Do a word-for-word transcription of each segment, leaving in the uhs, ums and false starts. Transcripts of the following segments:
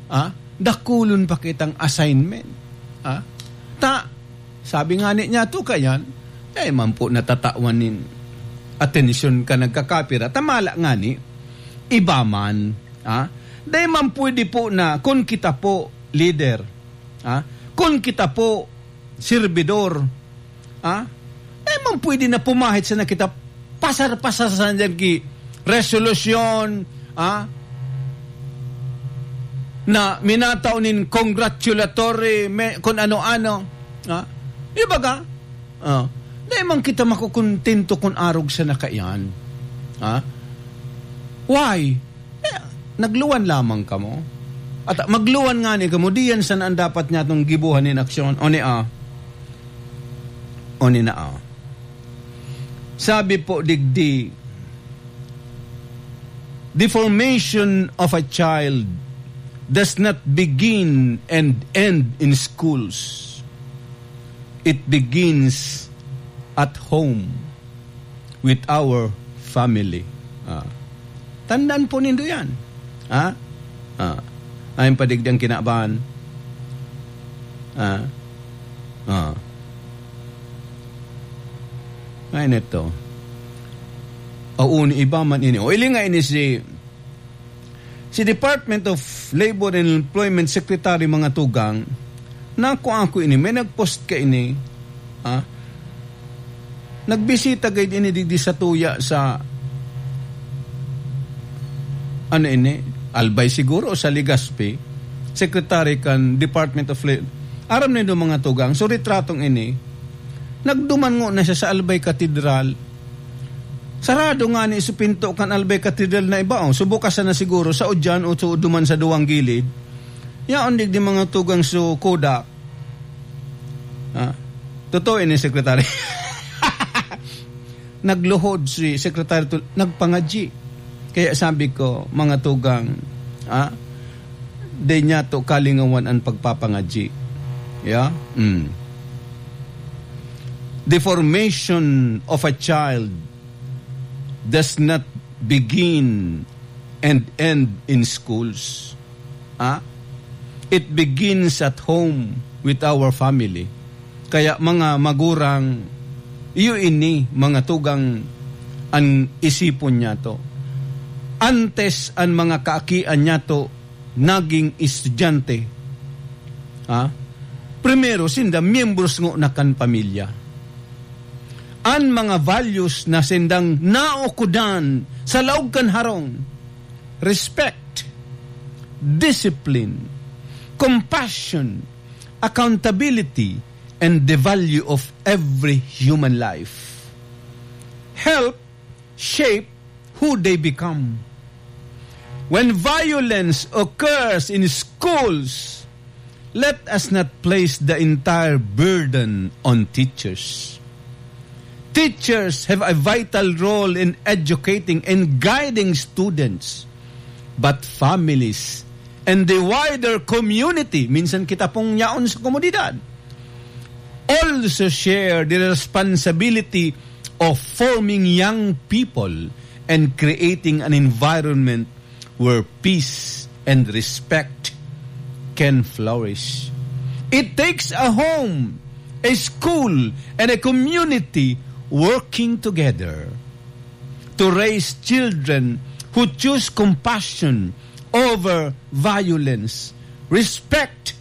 Ah, dakulon pa kitang assignment. Ah, ta, sabi nga ni niya to kayan, dai man po natatawan nin atensyon ka nagkakapira. Tamala nga ni, iba man. Ah, dai man pwede po na, kun kita po, leader, ah, kun kita po, servidor, ah, dai man pwede na pumahit sana kita, pasar-pasar sana dyan ki resolusyon, ah, na minatao nin congratulatory, me-, kun ano-ano, ah. Di ba ka? Ah, dai man kita makukontento kun arog sana kaiyan. Ah? Why? Eh, nagluwan lamang kamo. At magluwan nga ni kamo, diyan sana ang dapat niya itong gibuhan nin aksyon. O ni, ah, o ni na, ah. Sabi po, digdi, "The formation of a child does not begin and end in schools. It begins at home with our family." Ah. Tandaan po nindo yan. Ha? Ah. Ayon pa digdi ang kinaban. Ah. Ah. Ay, neto. O, uni iba man ini. O, ili nga ini si, si Department of Labor and Employment Secretary, mga tugang, nako ako ini, may nag-post ka ini, ah, nagbisita gayud ini digdi sa tuya sa, ano ini, Albay siguro o sa Legazpi, secretary kan Department of Labor. Aram nindo, mga tugang, so retratong ini, nagduman ngona siya sa Albay Cathedral. Sarado ngani so pinto kan Albay Cathedral na iba, oh. So, bukas na siguro, sa udyan o so duman sa duwang gilid. Yaon digdi, mga tugang, so Kodak. Ah, totoo ini, Secretary. Nagluhod si Secretary Tul-, nagpangadyi. Kaya sabi ko, mga tugang, ah, di niya to kalingawan ang pagpapangadyi. Yeah? Mm. The formation of a child does not begin and end in schools. Ah? It begins at home with our family. Kaya, mga magurang, iyo ini, mga tugang, an isipon niyato. Antes an mga kaakian niyato naging estudyante, ha? Primero, sinda miyembros ngona kan pamilya. An mga values na sindang naukodan sa laog kan harong, respect, discipline, compassion, accountability, and the value of every human life help shape who they become. When violence occurs in schools, let us not place the entire burden on teachers. Teachers have a vital role in educating and guiding students, but families and the wider community, minsan kita pong yaon sa komunidad, also share the responsibility of forming young people and creating an environment where peace and respect can flourish. It takes a home, a school, and a community working together to raise children who choose compassion over violence, respect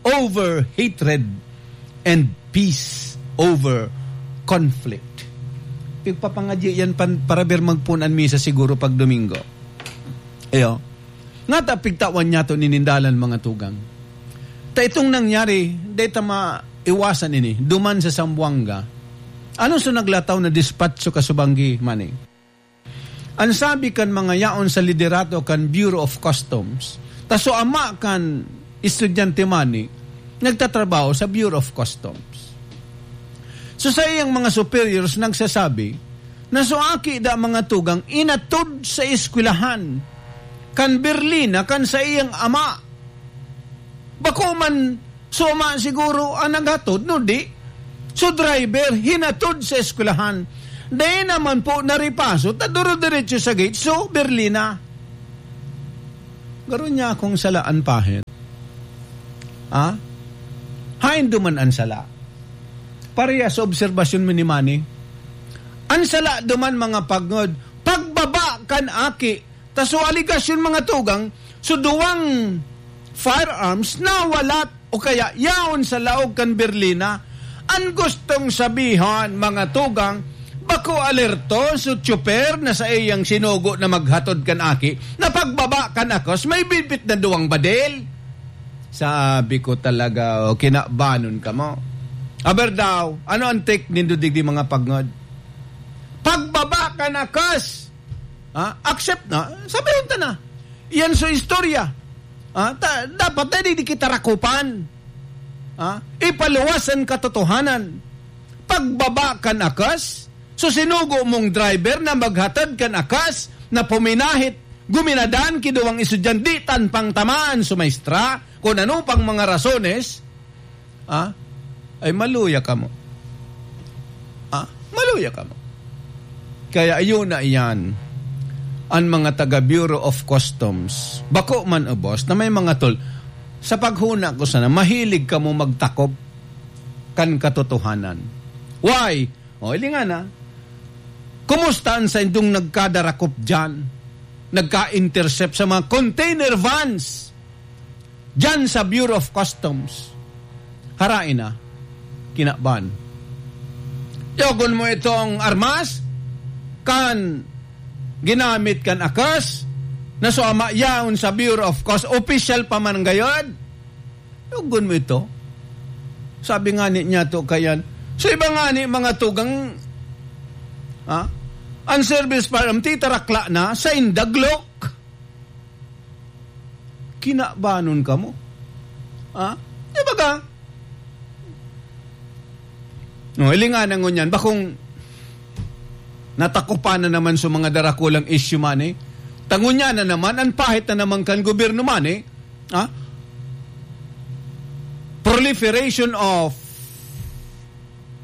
over hatred, and peace over conflict. Pigpapangadyi yan pan-, para bir magpunan misa siguro pag Domingo. Ayo. Ngata pigtawan niyato nin dalan, mga tugang. Ta itong nangyari, dai ta maiwasan ini, duman sa Zamboanga. Ano so naglataw na dispatch so kasubanggi, Manny? An sabi kan mga yaon sa liderato kan Bureau of Customs, ta so ama kan estudyante Manny nagtatrabaho sa Bureau of Customs. So, saiyang mga superiors nagsasabi na so aki da, mga tugang, inatod sa eskwelahan kan berlina kan saiyang ama. Bako man so ama siguro ang naghatod, no? Di. So, driver, hinatod sa eskwelahan. Dai naman po naripaso, ta duro-diretso sa gate, so, berlina. Garo niya akong sala an pahit. Ha? Haen duman an sala? Parehas sa obserbasyon mi ni Manny. An sala duman, mga pagngod, pagbaba kan aki. Ta so aligasyon, mga tugang, so duwang firearms nawalat o kaya yaon sa laog kan berlina. An gustong sabihon, mga tugang, bako alerto so tsuper na saiyang sinugo na maghatod kan aki, na pagbaba kan akos, may bitbit na duwang badil. Sabi ko talaga, "O, kinabanon kamo." Aber daw, ano ang take nindo digdi, mga pagngod? Pagbaba kan akos, ha? Accept na, sabihin ta na. Yan so istorya. Ha? Ta-, dapat na di kita rakupan. Ha? Ipaluwas an katotohanan. Pagbaba kan akos, so sinugo mong driver na maghatod kan akos na puminahit, guminadan ki duwang estudyante, di tan pang tamaan so maestra, kun ano pang mga rasones, ah, ay maluya kamo. Ah, maluya kamo. Kaya ayun na iyan, an mga taga Bureau of Customs, bako man ubos na may mga tol-, sa paghuna ko sana, mahilig kamo magtakop kan katotohanan. Why? O, ilingan na. Kumusta an saindong nagkadarakop diyan? Nagka-intercept sa mga container vans diyan sa Bureau of Customs. Harain na. Kinaban. Yogon mo itong armas kan ginamit kan akos na so ama yaon sa Bureau of Customs. Official pa man gayod. Yogon mo ito. Sabi nga ni niya to kayan. So, iba nga ni mga tugang, ha? Ang service firearm, titarakla na sa indaglok. Kinabanon kamo. Ha? Di ba ka? No, ilingan na ngunyan. Bakong natakupan na naman sa mga darakulang issue man eh. Tangon niya na naman, ang pahit na naman kan gobyerno man eh. Ha? Proliferation of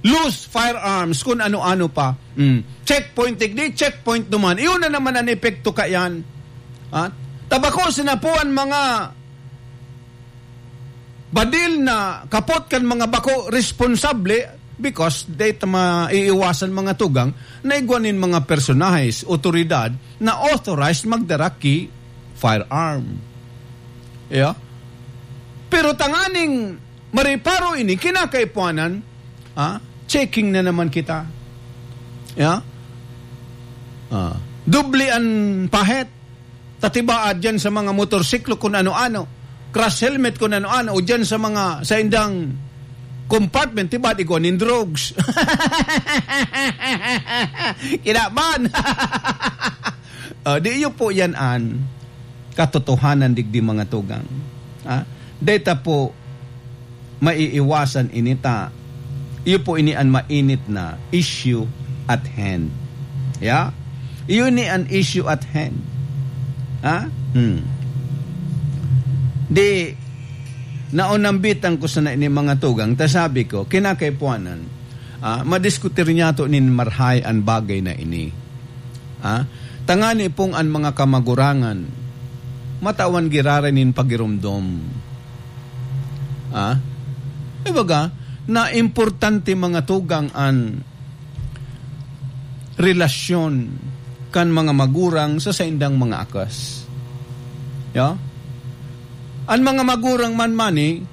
loose firearms, kung ano-ano pa. Mm. Checkpoint, tigdi, checkpoint naman. Iyon na naman ang epekto kayan. Ha? Tabako, sinapuan mga badil na kapot kan mga bako responsable because dahil ta maiiwasan mga tugang na igwa nin mga personahes, otoridad na authorized magdara ki firearm. Yeah? Pero tanganing mariparo ini, kinakaipuanan, ah, checking na naman kita. Yeah? Ah, doble an pahet. Tatibaad diyan sa mga motorsiklo kun ano-ano. Crash helmet kun ano-ano. O diyan sa mga, sa indang compartment, tibaad igwa nin drugs. Kinaban. Ah, di iyo po yan an katotohanan digdi, mga tugang. Ha? Deta po, maiiwasan ini ta. Iyo po ini an mainit na issue at hand. Yeah? Iyo ni an issue at hand. Ha? Hmm. Di, naunambitan ko sana ini mga tugang, ta sabi ko, kinakaipuanan, ah, madiskutir niya to nin marhay an bagay na ini. Ah, tangani pong an mga kamagurangan, matawan giraray nin pagiromdom. Ah, ibaga, na importante mga tugang an relasyon kan mga magurang sa saindang mga akas. Ya? An mga magurang man mani,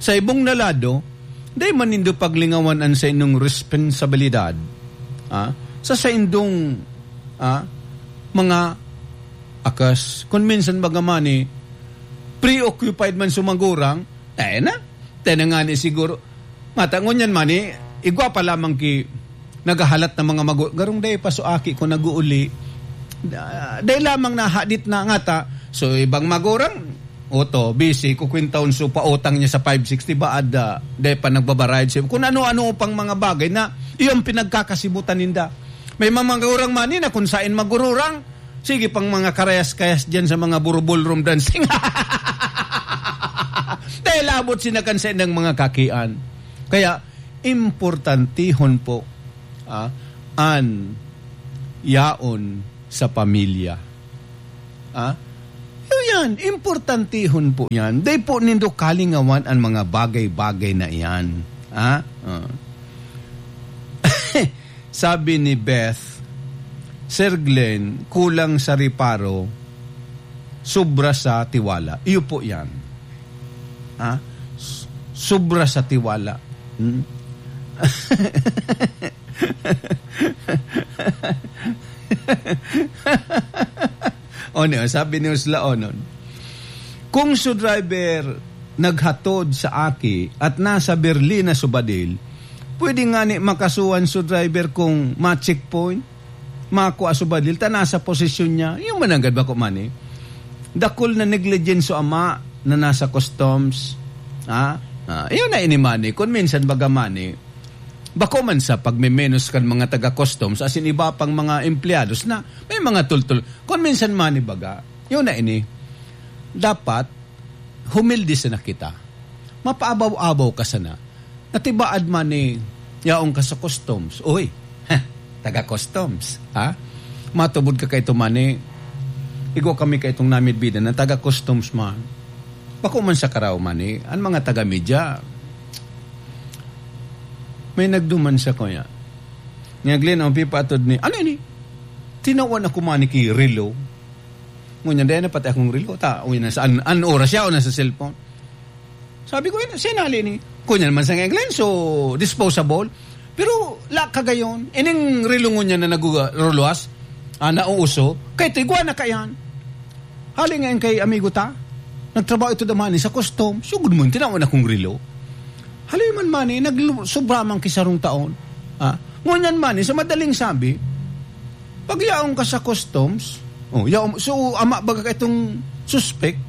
sa ibong na lado, dai man nindo paglingawan an saindong responsabilidad, ah, sa saindong, ah, mga akas. Kun minsan baga mani, preoccupied man sa magurang, eh na, tayo na nga ni siguro. Mata, ngunyan mani, igwa pa lamang ki naghahalat na mga magu-, garong dai pa so aki ko nag-uuli. Ah, dai lamang nahadit na ngata. So, ibang magurang, oto, busy, kukwintahon so pautang niya sa five sixty ba, ada, dai pa nagbabarayad siya. Kung ano-ano pang mga bagay na iyong pinagkakasibutan ninda. May mga magurang mani na kung sain magururang, sige pang mga karayas-kayas diyan sa mga buru-ballroom dancing. Dahil abot sinakan sa inang mga kakian. Kaya, importantihon po, ah, an yaon sa pamilya. Ah? Yung Yan, importantehon po yan. Dai po nindo kalingawan an mga bagay-bagay na iyan. Ha? Ah. Sabi ni Beth, "Sir Glenn, kulang sa reparo, sobra sa tiwala." Iyo po yan. Ha? S-, sobra sa tiwala. Hmm? O niya, sabi ni Usla Onon, "Kung su driver naghatod sa aki at nasa Berlin na su badil, pwede ngani makasuhan su driver kung ma-checkpoint, makua su badil, ta nasa posesyon niya." Iyo man nanggad bako man eh. Dakul na negligence su ama na nasa customs. Ha? Ah, iyo na ini man eh. Kung minsan baga man eh, bako man sa pagmemenos kan mga taga-customs, asin iba pang mga empleyados na may mga tultol. Kung minsan man eh baga, iyo na ini. Dapat, humilde sana kita. Mapaabaw-abaw ka sana. Natibaad man ni yaon ka sa customs. Uy, ha, taga-customs, ha? Matubod ka kaito man ni, igwa kami kaitong namidbidan na taga-customs man. Bako man sa karaw man ni, an mga taga-media, may nagduman sa kuya. Nga, "Glenn, ang pipaatod ni, ano ini? Tinawan ako man ni ki relo." Ngunyan, dahil na pati akong relo. Ta, uy, nasa an, an oras siya o nasa cellphone. Sabi ko, "Eh, sinali ni." Kunyan man sa ngeglen, so disposable. Pero, la kagayon, ining relo ngunyan na naguguluwas, ah, nauuso, kay tigwa na kayan. Hali nga yung kay amigo ta, nagtrabaho ito damani sa custom. Sugod mo, tinawan akong relo. Hali man man eh, naglu-, sobra man kisarong taon. Ah, ngunyan man eh, sa madaling sabi, pag yaon ka sa customs, oh, yaon, so, ama baga ka itong suspect,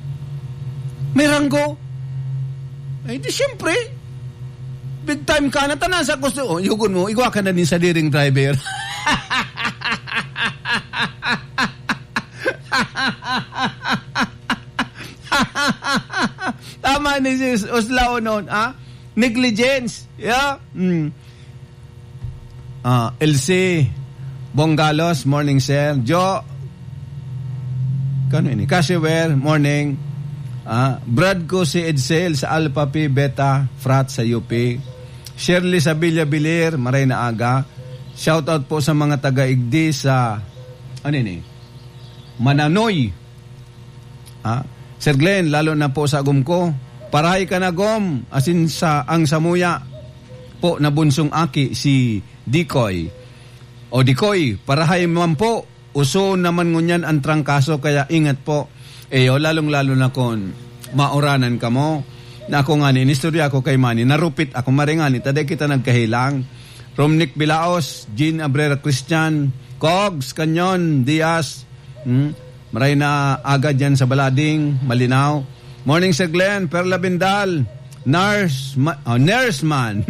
may ranggo. Ay, di siyempre, big time ka na, tanan sa customs. Oh, yugon mo, igwa ka na din sa diring driver. Tama ni si Us-, Uslao noon, ah? Negligence. Yeah? Mm. Ah, L C Bongalos, morning, sir. Jo, kano ini? Kasiwer, morning. Ah, Brad ko si Edsel sa Alpha Phi Beta Frat sa U P. Shirley Sabilla Bilir, maray na aga. Shout out po sa mga taga-Igdi sa, ano ini? Mananoy. Ah, Sir Glenn, lalo na po sa agom ko. Parahay ka na, Gom, asin sa, ang samuya po na bunsong aki, si Dikoy. O Dikoy, parahay man po. Uso naman ngunyan ang trangkaso, kaya ingat po. Eyo, lalong-lalo na kun mauranan kamo. Na ako ngani, inistorya ko kay Manny, narupit ako, maray ngani, ta dai kita nagkahelang. Romnick Bilaos, Jean Abrera Christian, Cogs, Canyon, Diaz, hmm? Maray na aga dyan sa Balading, Malinao. Morning, Sir Glenn, Perla Bindal, Nurse, Ma-, oh, Nurse Man.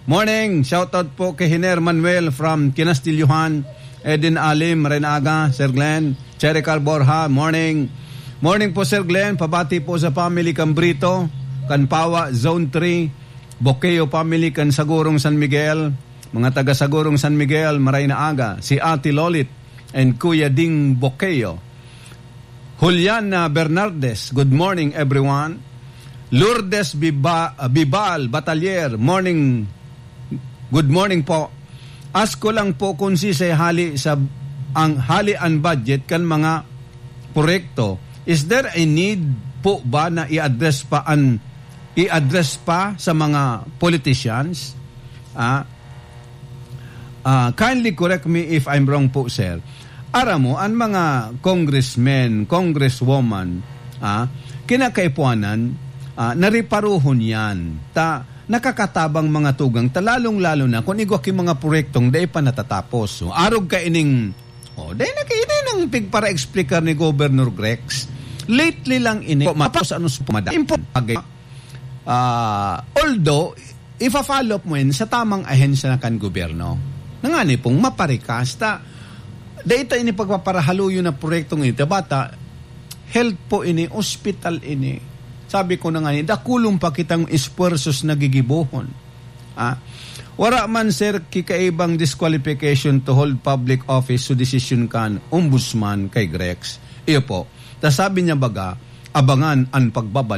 Morning, shoutout po kay Hiner Manuel from Kinastilyohan. Eden Alim, maray na aga, Sir Glenn. Cherry Carl Borja, morning. Morning po, Sir Glenn. Pabati po sa family kan Brito, kan Pawa, Zone three, Bokeo family, kan Sagurong San Miguel. Mga taga Sagurong San Miguel, maray na aga. Si Ate Lolit and Kuya Ding Bokeo. Juliana Bernardes, good morning, everyone. Lourdes Biba-, Bibal Batalier, morning, good morning po. Ask ko lang po kung sisay hali sa, ang hali an budget kan mga proyekto. Is there a need po ba na i-address pa an, i-address pa sa mga politicians? Ah, Ah, kindly correct me if I'm wrong po, sir. Aram mo, ang mga congressmen, congresswoman, ah, kinakaipuanan, ah, nariparuhon yan. Ta, nakakatabang mga tugang, ta lalong-lalo na kung igwa ki mga proyektong dai pa natatapos. So, arog ka ining, oh, dai na kayo na nang pigpara-explicar ni Governor Grex. Lately lang ini, po, matapos ano sa pumada. Import, bagay. Ah, although, ifa-follow up mo yan sa tamang ahensya na kan gobyerno. Nangani pong maparikas ta, dai ta ini pagpaparahaluyon na proyektong ini. Tabata, health po ini, ospital ini. Sabi ko na nga ni, dakulon pa kitang esfuerzos na gigibohon. Ah, wara man, sir, kikaibang disqualification to hold public office so desisyon kan ombudsman kay Grex. Iyo po. Ta sabi niya baga, abangan an pagbabalik